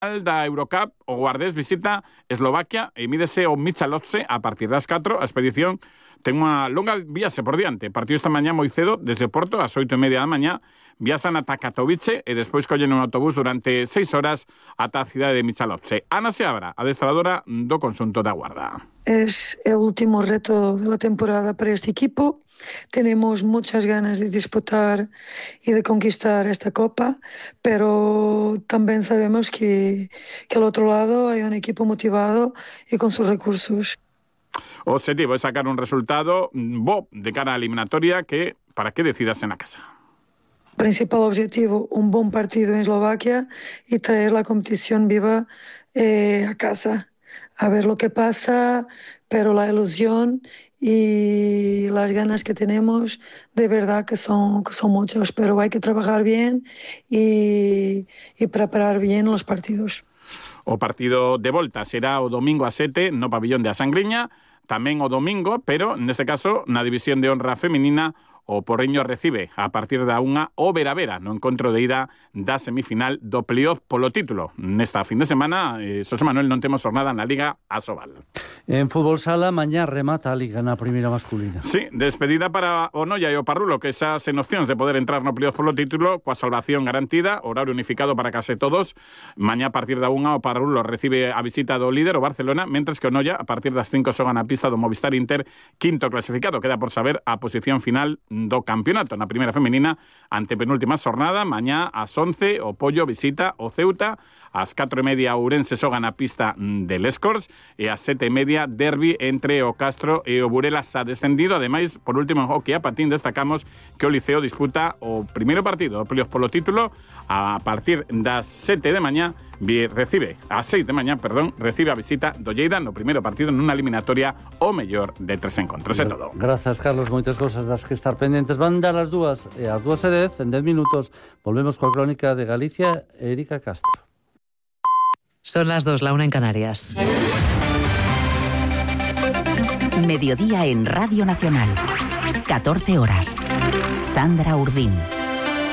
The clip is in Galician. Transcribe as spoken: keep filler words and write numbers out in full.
da Eurocup, o Guardés visita Eslovaquia e mídese o Michalovce a partir das catro. A expedición ten unha longa viaxe por diante. Partido esta mañá moi cedo, desde Porto, ás oito e media da mañá, viaxan ata Katowice e despois collen un autobús durante seis horas ata a cidade de Michalovce. Ana Seabra, adestradora do conxunto da Guarda. Es el último reto de la temporada para este equipo. Tenemos muchas ganas de disputar y de conquistar esta copa, pero también sabemos que, que al otro lado hay un equipo motivado y con sus recursos. O objetivo é sacar un resultado bo de cara á eliminatoria que para que decidas en a casa. Principal objetivo, un buen partido en Eslovaquia y traer la competición viva eh, a casa. A ver lo que pasa, pero la ilusión y las ganas que tenemos de verdad que son, que son muchas, pero hay que trabajar bien y, y preparar bien los partidos. O partido de volta será o domingo a sete no pabillón de A Sangriña, tamén o domingo, pero neste caso na división de honra feminina o Porriño recibe a partir da unha o Vera-Vera no encontro de ida da semifinal do playoff polo título. Nesta fin de semana, eh, Xosé Manuel, non temos jornada na Liga Asobal. En fútbol sala, mañá remata a Liga na primeira masculina. Sí, despedida para o Noia e o Parrulo, que xa sen opcións de poder entrar no playoff polo título, coa salvación garantida, horario unificado para case todos. Mañá a partir da unha o Parrulo recibe a visita do líder, o Barcelona, mentres que o Noia a partir das cinco xoga na pista do Movistar Inter, quinto clasificado. Queda por saber a posición final do campeonato na primeira feminina, ante penúltima xornada. Mañá ás once o Pollo visita o Ceuta, ás catro e media Ourense xoga na pista de Lescors e ás sete e media derbi entre o Castro e o Burela xa descendido. Ademais, por último, en hockey a patín destacamos que o Liceo disputa o primeiro partido do playoff polo título a partir das sete de mañá. Recibe, a seis de mañá, perdón, recibe a visita do Lleida no primeiro partido nunha eliminatoria o mellor de tres encontros. É todo. Grazas, Carlos, moitas cosas das que estar pendentes. Van dar as dúas e as dúas e dez, en dez minutos volvemos coa crónica de Galicia, Erika Castro. Son las dos, la una en Canarias. Mediodía en Radio Nacional. catorce horas. Sandra Urdín.